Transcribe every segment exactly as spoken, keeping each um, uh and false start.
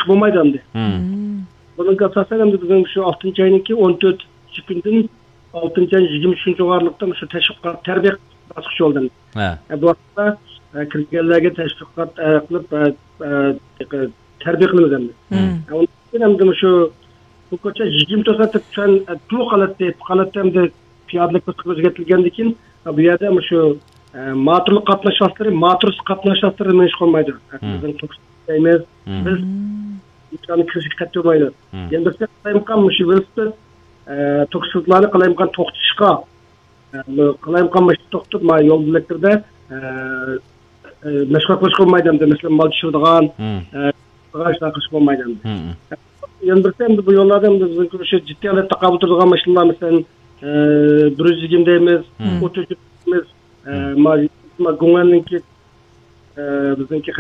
چىقىپ بولمايدۇ ئەمدى. بۇنىڭغا ئاساسەن ئەمدى بىزنىڭ شۇ ئالتىنچى ئاينىڭكى ئون تۆتىنچى كۈنىدىن ئالتىنچى ئاينىڭ يىگىرمە ئۈچىنچى ئاۋارلىقتا شۇ تەشۋىقات، تەربىيە باسقۇچى بولدى. ھە. بۇ ۋاقىتتا، ئە، كىرگەنلەرگە تەشۋىقات، ئە، قىلىپ، ئە، ئە، تەربىيە قىلىمىز ئەمدى. ئە، ئۇنىڭ ئۈچۈن ئەمدى مۇشۇ بۇ كوچا يىگىرمە تۆت سائەت دەپ چۈشەن، ئە، تۇلۇق ھالەتتە، يېپىق ھالەتتە ئەمدى پىيادىلىك كوچىغا ئۆزگەرتىلگەندىن كېيىن، بۇ يەردە مۇشۇ، ئە، موتورلۇق قاتناش ۋاسىتىلىرى، موتورسىز قاتناش ۋاسىتىلىرى مېڭىشقا بولمايدۇ. بىزنىڭ توك دەيمىز، بىز ئىنساننىڭ كىرىشىگە قەتئىي بولمايدۇ. يەنە بىرسى قالايمىقان مۇشۇ ۋېلىسىپىت، ئە، توكسىزلارنى قالايمىقان توختىتىشقا، ئە، قالايمىقان مۇشۇ توختىتىپ، ما يول بۆلەكلىرىدە، ئە، ئە، مەشغۇلات قىلىشقا بولمايدۇ ئەمدى. مەسىلەن، مال چۈشۈرىدىغان، ئە، ئىشلار قىلىشقا بولمايدۇ ئەمدى. يەنە بىرسى ئەمدى بۇ يوللاردا ئەمدى بىزنىڭ شۇ جىددىي ھالەتتە تاقابىل تۇرىدىغان ماشىنىلار، مەسىلەن، ئە، بىر يۈز يىگىرمە دەيمىز، ئوتتۇز دەيمىز، ئە، ما، ما گۇڭئەننىڭكى، ئە، بىزنىڭكى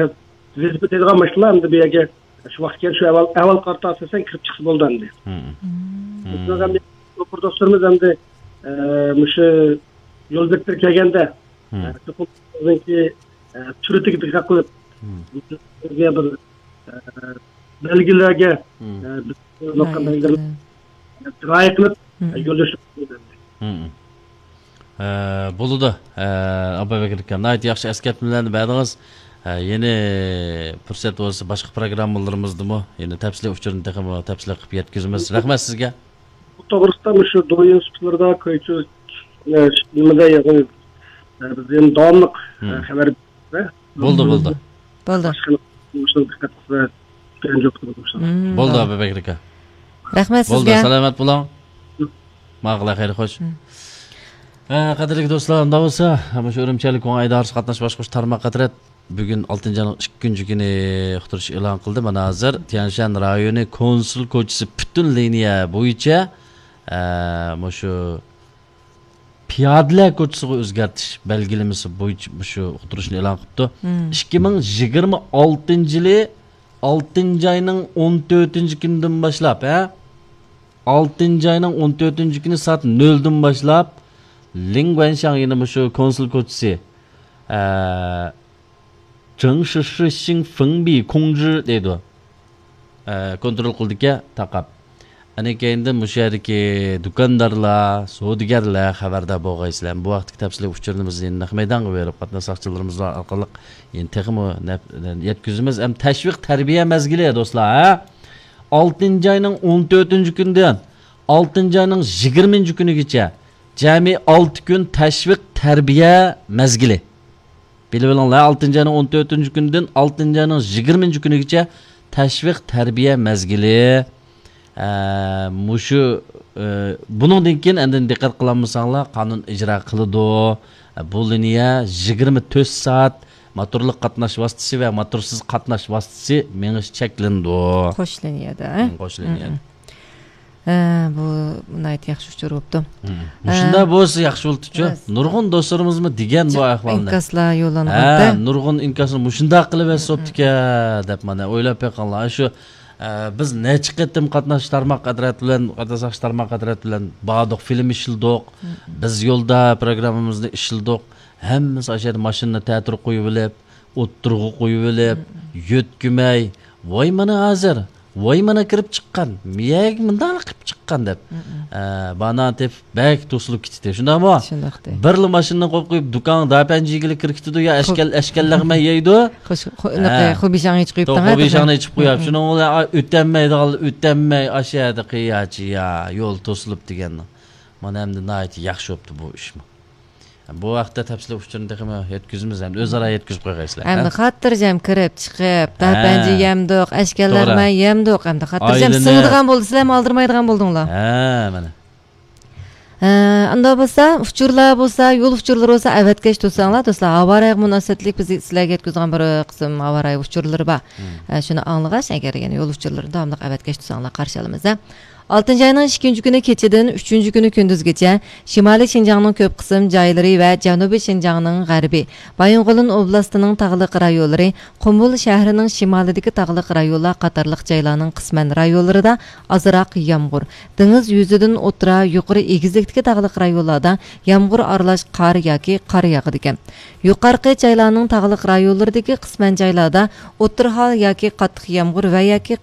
ۋېلىسىپىت ھەيدەيدىغان ماشىنىلار ئەمدى بۇ يەرگە شۇ ۋاقىت كېلىپ شۇ ئەھۋال، ئەھۋال قارىتا ئاساسەن كىرىپ چىقسا بولدى ئەمدى. بىزنىڭ ئەمدى شوپۇر دوستلىرىمىز ئەمدى، ئە، مۇشۇ يول بېكىتىپ كەلگەندە، ئە، چوقۇم بىزنىڭكى، ئە، سۈرئىتىگە دىققەت قىلىپ، بىزگە بىر، ئە، بەلگىلەرگە، ئە، بىز قويۇۋاتقان بەلگىلەرگە رىئايە قىلىپ، ئە، يولدىشىمىز ئەمدى. ھە، بولىدۇ. ھە، ئابابەكرى ئاكا، ناھايىتى ياخشى ئەسكەرتمىلەرنى بەردىڭىز. ھە، يەنە پۇرسەت بولسا باشقا پروگراممىلىرىمىزدىمۇ يەنە تەپسىلىي ئۇچۇرنى تېخىمۇ تەپسىلىي قىلىپ يەتكۈزىمىز. رەھمەت سىزگە. بۇ توغرىسىدا مۇشۇ دويىن سۇپىلىرىدا كۆيچۈ، ئە، نېمىدە يىغىن، ئە، بىز يەنە داۋاملىق، ئە، خەۋەر بېرىمىز. بولدى، بولدى. بولدى. باشقا مۇشۇنى دىققەت قىلسا، كۆرۈنۈپ قالىدۇ مۇشۇ. بولدى، ئابابەكرى ئاكا. رەھمەت سىزگە. بولدى، سالامەت بولۇڭ. ماقۇل، خەير، خوش. ھە، قەدىرلىك دوستلار، ئۇنداق بولسا، مۇشۇ ئۈرۈمچىلىك كوڭ ئىدارىسى قاتناش باشقۇرۇش تارماق قاترەت بۈگۈن ئالتىنچى ئاينىڭ ئىككىنچى كۈنى ئۇقتۇرۇش ئېلان قىلدى. مانا ھازىر تيەنشەن رايونى كونسۇل كوچىسى پۈتۈن لىنىيە بويىچە، ئە، مۇشۇ پىيادىلەر كوچىسىغا ئۆزگەرتىش بەلگىلىمىسى بويىچە مۇشۇ ئۇقتۇرۇشنى ئېلان قىپتۇ. ئىككى مىڭ يىگىرمە ئالتىنچى يىلى ئالتىنچى ئاينىڭ ئون تۆتىنچى كۈنىدىن باشلاپ، ھە؟ ئالتىنچى ئاينىڭ ئون تۆتىنچى كۈنى سائەت نۆلدىن باشلاپ، لىڭ گۇەنشاڭ، يەنى مۇشۇ كونسۇل كوچىسى، ئە، جېڭ شىشى شىڭ فېڭ بى كۇڭ جى دەيدۇ. ئە، كونترول قىلىدىكەن تاقاپ. ئەنە كەينىدىن مۇشۇ يەردىكى دۇكاندارلار، سودىگەرلەر خەۋەردار بولغايسىلەر. بۇ ھەقتىكى تەپسىلىي ئۇچۇرنى بىز يەنە نەق مەيدانغا بېرىپ، قاتناش ساقچىلىرىمىز ئارقىلىق يەنە تېخىمۇ نەپ-، يەتكۈزىمىز. ئەم، تەشۋىق تەربىيە مەزگىلى، دوستلار، ھە؟ ئالتىنچى ئاينىڭ ئون تۆتىنچى كۈنىدىن ئالتىنچى ئاينىڭ يىگىرمىنچى كۈنىگىچە جەمئىي ئالتە كۈن تەشۋىق تەربىيە مەزگىلى. بىلىۋېلىڭلار، ئالتىنچى ئاينىڭ ئون تۆتىنچى كۈنىدىن ئالتىنچى ئاينىڭ يىگىرمىنچى كۈنىگىچە تەشۋىق تەربىيە مەزگىلى. ئە، مۇشۇ، ئە، بۇنىڭدىن كېيىن ئەندىن دىققەت قىلالمىساڭلار، قانۇن ئىجرا قىلىدۇ. ئە، بۇ لىنىيە يىگىرمە تۆت سائەت موتورلۇق قاتناش ۋاسىتىسى ۋە موتورسىز قاتناش ۋاسىتىسى مېڭىش چەكلىنىدۇ. قوش لىنىيەدە، ھە؟ مم، قوش لىنىيەدە. ھە، بۇ ناھايىتى ياخشى ئۇچۇر بوپتۇ. مم. ھە. مۇشۇنداق بولسا ياخشى بولىدىچۇ. راست. نۇرغۇن دوستلىرىمىزمۇ دېگەن بۇ ئەھۋالنى. ئىنكاسلار يوللانغاندا. ھە، نۇرغۇن ئىنكاسنى مۇشۇنداق قىلىۋەتسە بوپتىكەن دەپ، مانا ئويلاپ بېقىڭلار. شۇ، ئە، بىز نەچچە قېتىم قاتناش تارماق قەدرەت بىلەن، قاتناش تارماق قەدرەت بىلەن باردۇق، فىلىم ئىشلىدۇق. مم. بىز يولدا پروگراممىمىزنى ئىشلىدۇق. ھەممىسى ئاشۇ يەردە ماشىنىنى تەتۈر قويۇۋېلىپ، ئوتتۇرىغا قويۇۋېلىپ، مم، يۆتكىمەي، ۋاي مانا ھازىر، ۋاي مانا كىرىپ چىققان، مىيەگە مۇنداقلا كىرىپ چىققان دەپ. مم. ئە، بانان تېپىپ بەك توسۇلۇپ كېتىتتى. شۇنداقمۇ؟ شۇنداقتى. بىرلا ماشىنىنى قويۇپ قويۇپ، دۇكان داپەنجىگىلى كىرىپ كېتىدۇ يا، خۇ-، ئەشكەل-، ئەشكەللەغمەي يەيدۇ. خۇش-، خۇ-، ھە. خۇبىشاڭنى ئېچىپ قويۇپتۇ، تو-، ھە، خۇبىشاڭنى ئېچىپ قويۇپ. مم. شۇنىڭ بىلەن ئا-، ئۆتەلمەيدىغان، ئۆتەلمەي ئاشۇ يەردە قىياچى يا، يول توسۇلۇپ دېگەن. مانا ئەمدى ناھايىتى ياخشى بوپتۇ بۇ ئىشمۇ. بۇ ھەقتە تەپسىلىي ئۇچۇرنى تېخىمۇ يەتكۈزىمىز، ئەمدى ئۆزئارا يەتكۈزۈپ قويغايسىلەر، ھە؟ ئەمدى خاتىرجەم كىرىپ چىقىپ، ھە. داپەنجە يەمدۇق، ئەشكەللەرمەن يەمدۇق، ئەمدى خاتىرجەم ئايلىنىپ. سىڭىدىغان بولدى، سىلەرمۇ ئالدىرىمايدىغان بولدۇڭلار. ھە، مانا. ھە، ئۇنداق بولسا، ئۇچۇرلار بولسا، يول ئۇچۇرلىرى بولسا ئەۋەتكەچ تۇرساڭلار، دوستلار، ھاۋا رايىغا مۇناسىۋەتلىك بىز سىلەرگە يەتكۈزىدىغان بىر قىسىم ھاۋا رايى ئۇچۇرلىرى بار. مم. ھە، شۇنى ئاڭلىغاچ، ئەگەر يەنە يول ئۇچۇرلىرىنى داۋاملىق ئەۋەتكەچ تۇرساڭلار، قارشى ئالىمىز، ھە. ئالتىنچى ئاينىڭ ئىككىنچى كۈنى كېچىدىن ئۈچىنچى كۈنى كۈندۈزگىچە شىمالىي شىنجاڭنىڭ كۆپ قىسىم جايلىرى ۋە جەنۇبىي شىنجاڭنىڭ غەربى، بايىنغولىن ئوبلاستىنىڭ تاغلىق رايونلىرى، قۇمۇل شەھىرىنىڭ شىمالىدىكى تاغلىق رايونلار قاتارلىق جايلارنىڭ قىسمەن رايونلىرىدا ئازراق يامغۇر، دېڭىز يۈزىدىن ئوتتۇرا، يۇقىرى ئېگىزلىكتىكى تاغلىق رايونلاردا يامغۇر ئارىلاش قار ياكى قار ياغىدىكەن. يۇقارقى جايلارنىڭ تاغلىق رايونلىرىدىكى قىسمەن جايلاردا ئوتتۇرا ھال ياكى قاتتىق يامغۇر ۋە ياكى